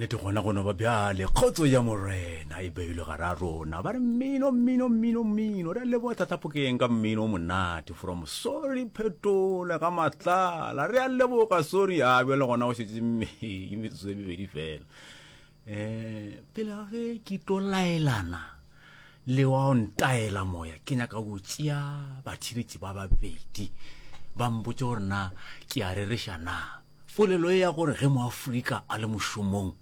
Nnete gona go no ba bjale, kgotso ya Morena e beilwe gare a rona. Ba re mmino, mmino, mmino, mmino. Re a leboga Tata Phokeng ka mmino o monate from Sorry Phetole ga Matlala. Re a leboga Sorry. A bjale gona go šetše ke metsotso e mebedi fela. Eh, pele ga ge ke tlo laelana le wa o ntaela moya, ke nyaka go tšea batheeletši ba babedi ba mpotše gore na ke a rereša na. Polelo ye ya gore ge Moafrika a le mošomong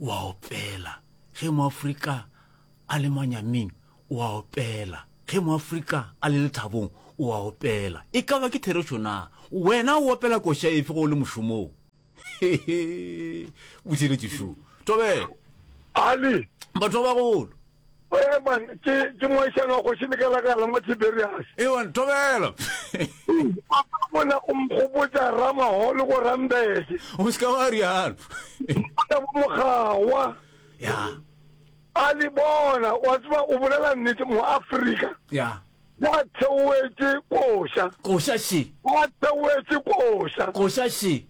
o a opela, ge Moafrika a le manyaming o a opela, ge Moafrika a le lethabong o a opela, e ka ba ke therešo na? Wena o opela koša efe ge o le mošomong? Botheeletši šo. Thobela. Ali. Batho ba bagolo. Ee man, ke ke moahisane wa kgoši Lekalakala mo Tiberias. Ewa thobela. Papa bona o nkgopotša Ramaholo ko Rambeke. O se ka wa rialo. Bona bo Mogawa. Ya. A le bona, wa tseba o bolela nnete mo Afrika. Ya. Ba theoetše koša. Koša še. Ba theoetše koša. Koša še.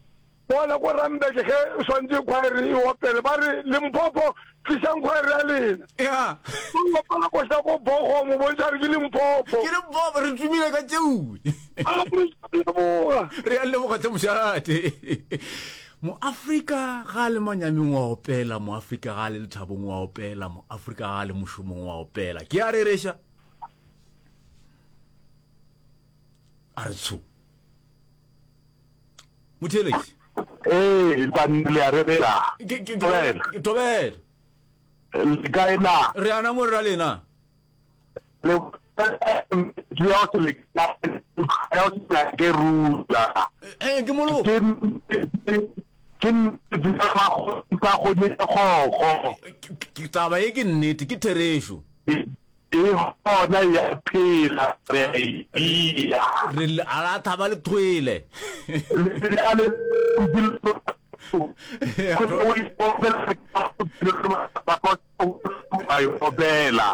Bona ko Randburg ge swantše khwaere e opele ba re Limpopo tlišang khwaere ya lena. Ya. Ba opela koša ko Bochum o bontšha gore ke Limpopo. Ke Limpopo re tumile ka tšeo. A re leboga. Re a leboga tle mošate. Moafrika ga a le manyaming wa opela, Moafrika ga a le lethabong wa opela, Moafrika ga a le mošomong wa opela. Ke a rereša. A re tsho. Motheeletši. Ee, banna le a rebela. Ke ke ke tobela. Le kae na? Re ana mo ra lena. Le ya go le ya go ke rula. Eh ke molo. Ke ke ba go di go. Ke taba e ke nnete ke therešo. E gona ya phela re a e bea. Re a la thaba le thwele.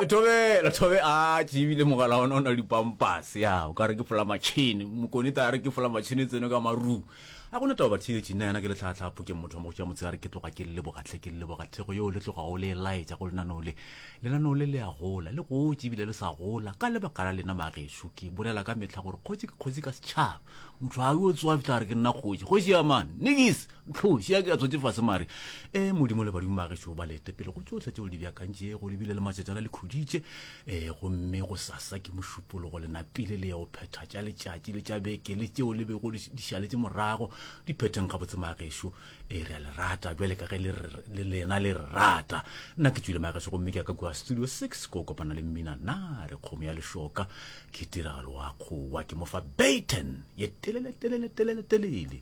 Thobela thobe a tšebile mogala ona o na le dipampase ya o ka re ke fola matšhene mokone ta re ke fola matšhene tseno ka maru a gona taba batheetši nna yana ke letlhatlha phokeng motho wa mogotša motshegare ke tloga ke lebogatlhe ke leboga thego yeo le tlogago le e laetša go lenaneo le Lenaneo le le a gola, le gotše ebile le sa gola ka lebaka la lena magešo. Ke bolela ka mehla gore kgoši ke kgoši ka setšhaba. Motho ga yo tsoga fihla a re ke nna kgoši. Kgoši ya mang? Nikis! Ntlhoši ya ke ya tswetše fase mare. E, Modimo le badimo magešo ba le ete pele go tšohle tšeo le di beakantšego, le bile le matšatšana le khuditše. E, gomme gosasa ke mošupologo, le napile le ya go phetha tša letšatši le tša beke le tšeo le bego di šaletše morago. Di phetheng gabotse magešo. E, re a le rata bjale ka ge le le lena le re rata. Nna ke tšwile magageso gomme ke ya ka kua Studio 6 ko kopana le mmina na re kgomo ya lešoka ke tiragalo wa kgowa ke mo fa Baton ye telele telele telele telele.